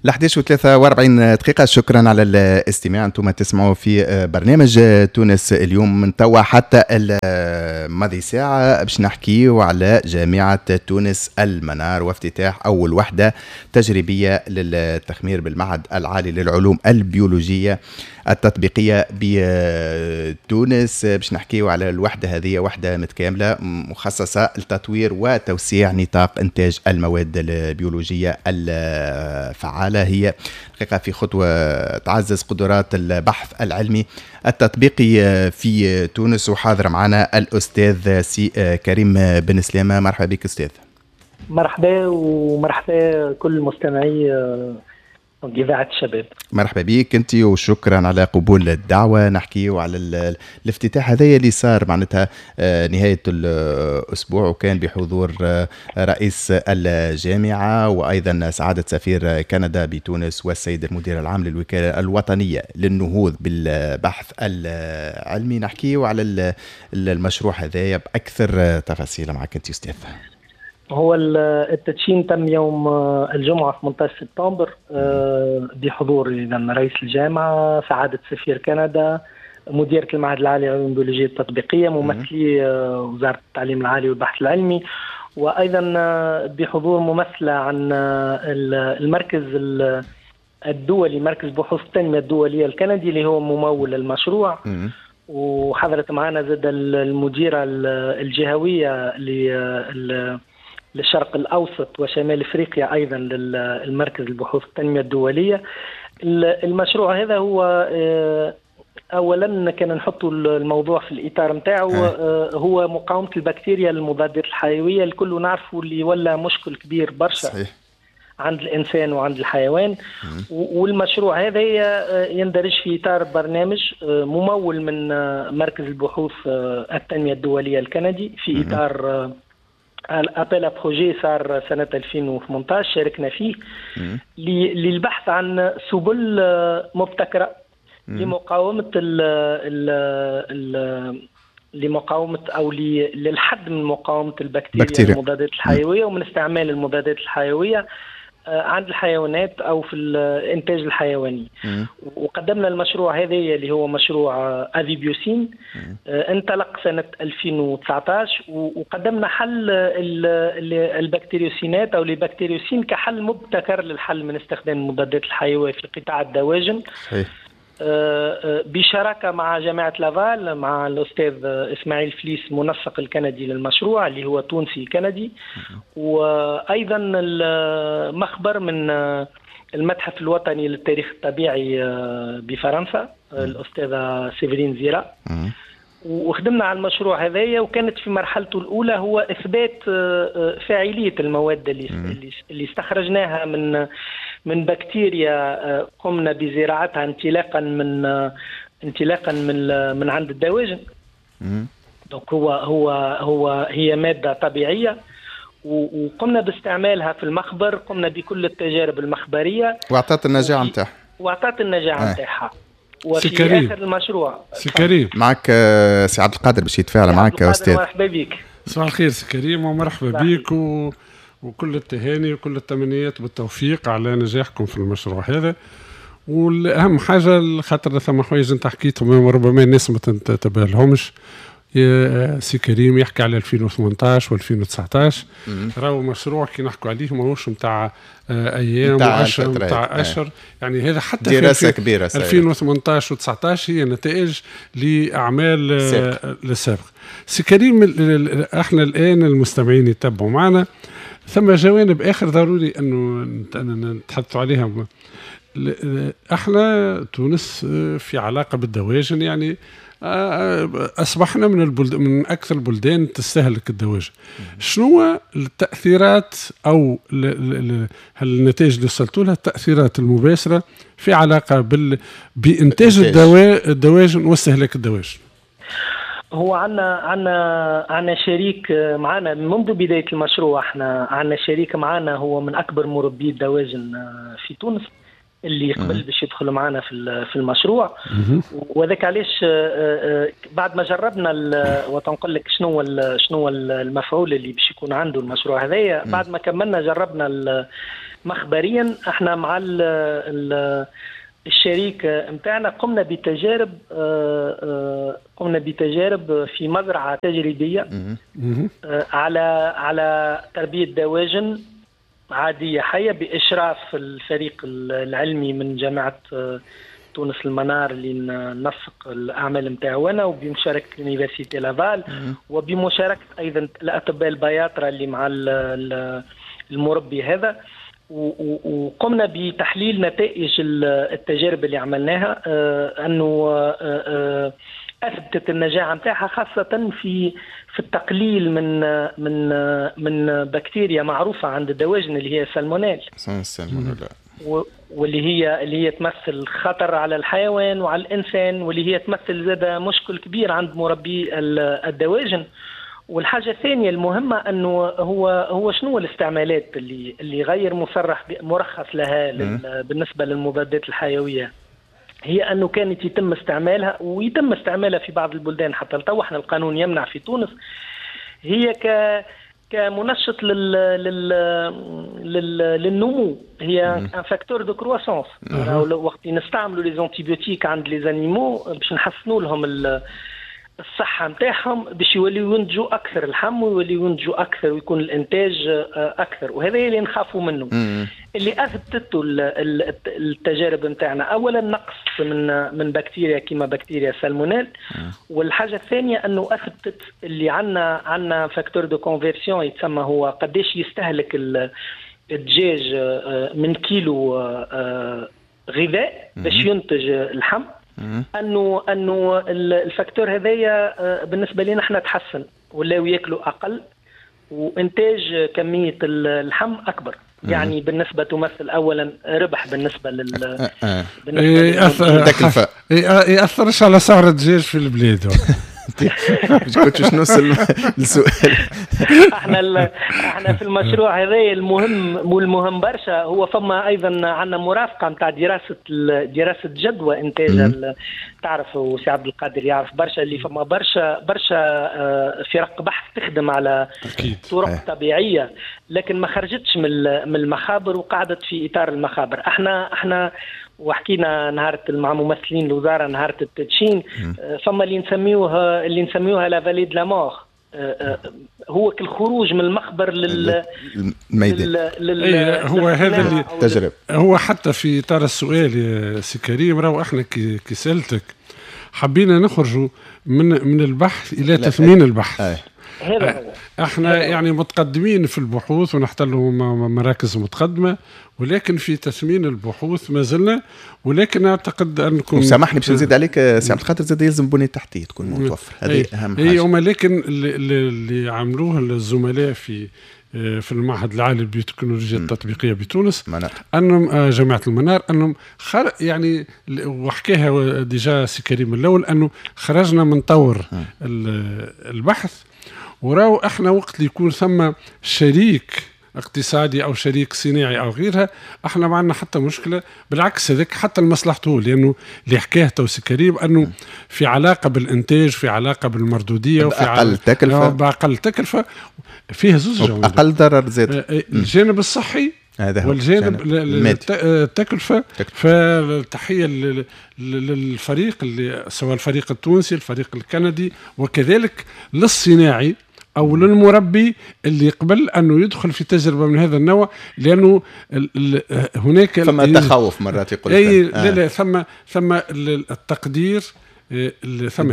11:43 دقيقة. شكرا على الاستماع، انتم تسمعوا في برنامج تونس اليوم من توا حتى الماضي ساعة باش نحكيو على جامعة تونس المنار وافتتاح أول وحدة تجريبية للتخمير بالمعهد العالي للعلوم البيولوجية التطبيقية بتونس. باش نحكيو على الوحدة هذه، وحدة متكاملة مخصصة لتطوير وتوسيع نطاق إنتاج المواد البيولوجية الفعالة. هي حقيقة في خطوة تعزز قدرات البحث العلمي التطبيقي في تونس. وحاضر معنا الأستاذ سي كريم بن سلامة. مرحبا بك أستاذ. مرحبا ومرحبا كل مستمعي إذاعة الشباب. مرحبا بك أنت وشكرا على قبول الدعوة. نحكي على الافتتاح هذا اللي صار معناتها نهاية الأسبوع، وكان بحضور رئيس الجامعة وأيضا سعادة سفير كندا بتونس والسيد المدير العام للوكالة الوطنية للنهوض بالبحث العلمي. نحكي على المشروع هذا بأكثر تفاصيل معك أنت أستاذ. هو التدشين تم يوم الجمعة 18 سبتمبر بحضور إذن رئيس الجامعة، سعادة سفير كندا، مديرة المعهد العالي للعلوم البيولوجية التطبيقية، ممثلي وزارة التعليم العالي والبحث العلمي، وأيضا بحضور ممثلة عن المركز الدولي، مركز بحوث التنمية الدولية الكندي اللي هو ممول المشروع. وحضرت معنا زاد المديرة الجهوية للشرق الأوسط وشمال إفريقيا أيضا للمركز البحوث التنمية الدولية. المشروع هذا هو أولا كان نحط الموضوع في الإطار متاعه، هو مقاومة البكتيريا المضادات الحيوية. الكل نعرفوا اللي ولا مشكل كبير برشا صحيح عند الإنسان وعند الحيوان. والمشروع هذا يندرج في إطار برنامج ممول من مركز البحوث التنمية الدولية الكندي في إطار appel à projets صار سنة 2018 شاركنا فيه للبحث عن سبل مبتكرة لمقاومة ال ال لمقاومة أو للحد من مقاومة البكتيريا المضادات الحيوية ومن استعمال المضادات الحيوية عند الحيوانات أو في الإنتاج الحيواني. وقدمنا المشروع هذا اللي هو مشروع أفيبيوسين، انطلق سنة 2019، وقدمنا حل البكتيريوسينات أو البكتيريوسين كحل مبتكر للحل من استخدام المضادات الحيوية في قطاع الدواجن. صحيح. بشراكة مع جامعة لافال، مع الأستاذ إسماعيل فليس منسق الكندي للمشروع اللي هو تونسي كندي، وأيضا المخبر من المتحف الوطني للتاريخ الطبيعي بفرنسا الأستاذة سيفرين زيرا. وخدمنا على المشروع هذايا، وكانت في مرحلته الأولى هو إثبات فاعلية المواد اللي استخرجناها من بكتيريا قمنا بزراعتها انطلاقا من عند الدواجن. donc هو هو هو هي مادة طبيعية وقمنا باستعمالها في المخبر، قمنا بكل التجارب المخبرية واعطت النجاعة نتاعها. واعطت النجاعة نتاعها. وفي آخر المشروع سي كريم معك سي عبد القادر باش يتفاعل معك يا أستاذ. مرحبا بك. صباح الخير سي كريم ومرحبا بك وكل التهاني وكل التمنيات بالتوفيق على نجاحكم في المشروع هذا. والأهم حاجة خاطر ثم حوايج أنت حكيتهم ربما الناس ما تنتبه لهمش. سي كريم يحكي على 2018 و2019، راهو مشروع كي نحكوا عليه ماهوش نتاع ايام واشهر نتاع اشهر، يعني هذا حتى دراسة كبيرة. 2018 و19 هي نتائج لاعمال للسابق. سي كريم احنا الان المستمعين يتبعوا معنا، ثم جوانب اخر ضروري انه نتحدثوا عليها. احنا تونس في علاقة بالدواجن، يعني اصبحنا من اكثر البلدان تستهلك الدواجن. شنو التاثيرات او النتائج اللي وصلتوا لها، التاثيرات المباشرة في علاقة بانتاج الدواجن واستهلاك الدواجن؟ هو عنا شريك معنا منذ بداية المشروع. احنا عنا شريك معنا هو من اكبر مربي الدواجن في تونس اللي قبل باش يدخل معنا في المشروع. وذاك علاش بعد ما جربنا وتنقل لك شنو المفعول اللي باش يكون عنده المشروع هذايا، بعد ما كملنا جربنا مخبريا احنا مع الشريك نتاعنا قمنا بتجارب في مزرعة تجريبية على تربيه دواجن عادية حيه باشراف الفريق العلمي من جامعه تونس المنار اللي ننسق الاعمال نتاعو، وبمشاركه l'université Laval، وبمشاركه ايضا الاطباء البياطره اللي مع المربي هذا. وقمنا بتحليل نتائج التجارب اللي عملناها، انه اثبتت النجاعه نتاعها، خاصة في التقليل من من من بكتيريا معروفة عند الدواجن اللي هي سالمونيل، واللي هي تمثل خطر على الحيوان وعلى الانسان، واللي هي تمثل زاد مشكل كبير عند مربي الدواجن. والحاجة الثانية المهمة انه هو شنو الاستعمالات اللي غير مصرح مرخص لها بالنسبة للمضادات الحيوية، هي انه كانت يتم استعمالها ويتم استعمالها في بعض البلدان حتى لتو، احنا القانون يمنع في تونس، هي كمنشط للنمو، هي un facteur de croissance. وقت نستعملوا les antibiotiques عند les animaux باش نحسنوا لهم الصحة نتاعهم، باش يوليو ينتجوا أكثر اللحم ويوليو ينتجوا أكثر ويكون الإنتاج أكثر، وهذا اللي نخافوا منه. اللي أثبتته التجارب نتاعنا أولا نقص من بكتيريا كيما بكتيريا سالمونيل، والحاجة الثانية أنه أثبتت اللي عندنا facteur de conversion يتسمى، هو قداش يستهلك الدجاج من كيلو غذاء باش ينتج اللحم، انه ال facteur هذايا بالنسبة لنا احنا تحسن، ولاو ياكلوا اقل وانتاج كمية اللحم اكبر. يعني بالنسبة تمثل اولا ربح بالنسبة لل التكلفة، ياثرش على سعر الدجاج في البلاد. كنت باش نوصل للسؤال. احنا في المشروع هذا المهم والمهم برشا هو فما ايضا عندنا مرافقة نتاع دراسة جدوى انتاج. تعرف وسي عبد القادر يعرف برشا اللي فما برشا فرق بحث تخدم على طرق طبيعية، لكن ما خرجتش من المخابر وقعدت في اطار المخابر. احنا وحكينا نهار مع ممثلين الوزارة نهار التدشين، فما اللي نسميوها la vallée de la mort، هو الخروج من المخبر للميدان. هو هذا اللي تجرب. هو حتى في اطار السؤال يا سي كريم، راهو احنا كي سالتك حبينا نخرجوا من البحث الى تثمين البحث. هذا هو. احنا يعني متقدمين في البحوث ونحتلوا مراكز متقدمة، ولكن في تثمين البحوث ما زلنا. ولكن اعتقد انكم، سامحني باش نزيد عليك سي عبد القادر، زاد يلزم بنيه تحتيه تكون متوفرة، هذه اهم حاجة. اي، لكن اللي عملوه الزملاء في المعهد العالي للبيوتكنولوجيا التطبيقية بتونس، انهم جامعه المنار، انهم يعني وحكاها déjà سي كريم الاول، انه خرجنا من طور البحث، وراو احنا وقت اللي يكون ثم شريك اقتصادي او شريك صناعي او غيرها، احنا ما عندنا حتى مشكلة، بالعكس هذاك حتى لمصلحته، لانه اللي حكاه تو سي كريم انه في علاقة بالانتاج، في علاقة بالمردوديه، وفي باقل تكلفة، باقل تكلفة، فيه زوج جوانب، اقل ضرر زاد، الجانب الصحي هذا هو والجانب التكلفة. فالتحيه للفريق اللي سواء الفريق التونسي، الفريق الكندي، وكذلك للصناعي او للمربي اللي قبل انه يدخل في تجربه من هذا النوع، لانه هناك ثم تخوف مرات يقول لك لا لا، ثم التقدير، ثم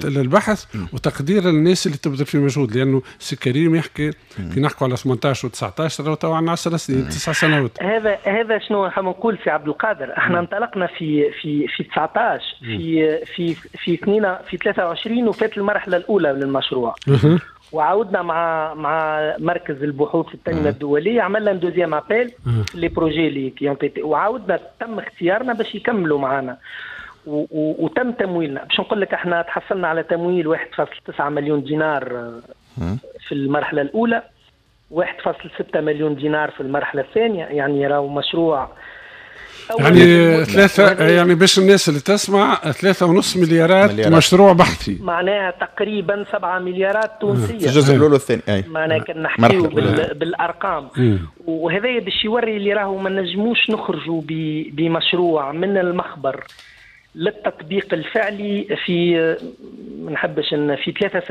البحث وتقدير الناس اللي تبذل في مجهود، لانه سي كريم يحكي كي نحكوا على 18 و19 راهو تو عندنا 10 سنين 9 سنوات. هذا شنو حاب نقول سي عبد القادر، احنا انطلقنا في في في 19 في في في 2 في 23 وفات المرحلة الاولى للمشروع، وعاودنا مع مركز البحوث التنمية الدولية، عملنا deuxième appel les projets اللي qui وعاودنا تم اختيارنا باش يكملوا معنا وتم تمويلنا. باش نقول لك احنا تحصلنا على تمويل 1.9 مليون دينار في المرحلة الاولى، 1.6 مليون دينار في المرحلة الثانية، يعني راهو مشروع يعني ثلاثة، يعني باش الناس اللي تسمع، 3.5 مليارات، مليارات. مشروع بحثي. معناها تقريبا 7 مليارات تونسية في الجزء الأول والثاني، أي. معناها كان نحكيو بالأرقام، وهذا باش يوري اللي راهو ما نجموش نخرجوا بمشروع من المخبر للتطبيق الفعلي في ما نحبش في 3 سنوات.